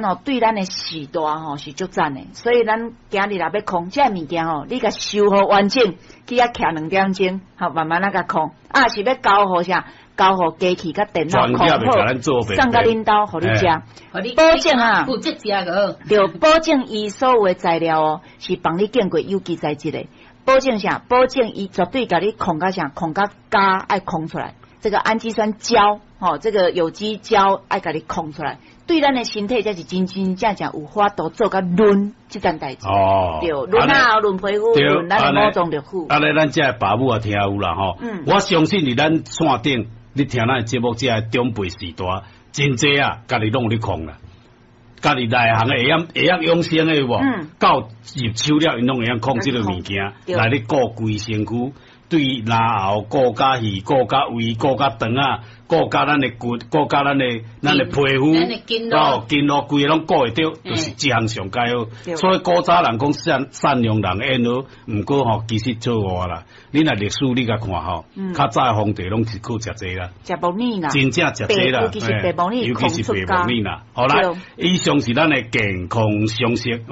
吼，對咱的序大吼是足讚的，所以咱今日若欲控這个物件吼，你共修予完整，去遐徛2點鐘，吼，慢慢仔共控，啊是欲交予啥？交予機器佮電腦控好，送到恁兜，予你食，保證啊，負責食個。對，保證伊所有的材料哦，是幫你經過有機材質的，保證啥？保證伊絕對共你控甲啥？控甲膠愛控出來，這個氨基酸膠，吼，這個有機膠愛共你控出來，對咱的身體才是真真正正有法度做甲潤這件代誌。哦，對，潤啊，潤皮膚，潤咱的五臟六腑。按呢，咱這个爸母也聽有啦吼。我相信佇咱線頂，你聽咱的節目，這个長輩序大，真濟啊，家己攏有咧控啦。家己內行的會曉會曉養生的有無？到入手了，𪜶攏會曉控這个物件，來咧顧規身軀，對咽喉顧甲耳，顧甲胃，顧甲腸仔，顧甲咱的骨，顧甲咱的皮膚，哦，筋絡規个攏顧會著，就是這項上蓋好。所以古早人講善善良人緣好，毋過吼，其實錯誤啦。你若歷史你共看吼，較早的皇帝攏是靠食這啦，食木耳啦，真正食這啦，尤其是白木耳，尤其是白木耳啦。好啦，以上是咱的健康常識。